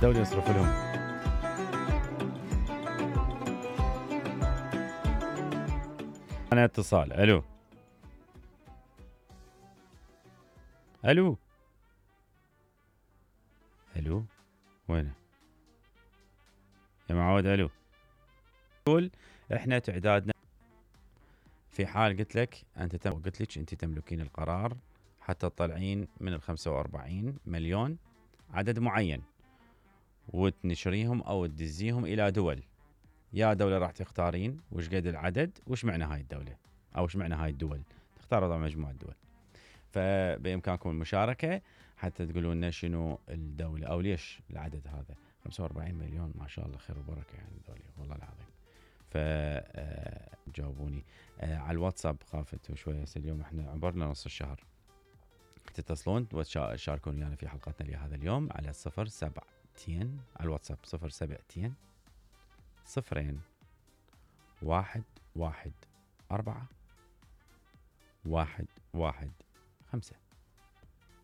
دولة يصرف لهم. أنا اتصال. ألو ألو ألو وينه يا معود؟ ألو. يقول إحنا تعدادنا في حال قلت لك قلت لك أنت تملكين القرار حتى تطلعين من 45 مليون عدد معين وتنشريهم أو تدزيهم إلى دول. يا دولة راح تختارين وش قد العدد وش معنى هاي الدولة أو وش معنى هاي الدول. تختاروا طبعا مجموعة دول، فبإمكانكم المشاركة حتى تقولون لنا شنو الدولة أو ليش العدد هذا. 45 مليون ما شاء الله خير وبركة يعني الدولة والله العظيم. فجاوبوني على الواتساب. خافت شوية اليوم احنا عبرنا نص الشهر. تتصلون وتشاركون ويانا في حلقتنا لهذا اليوم على 07 على الواتساب 07 0 1 1 4 1 1 5.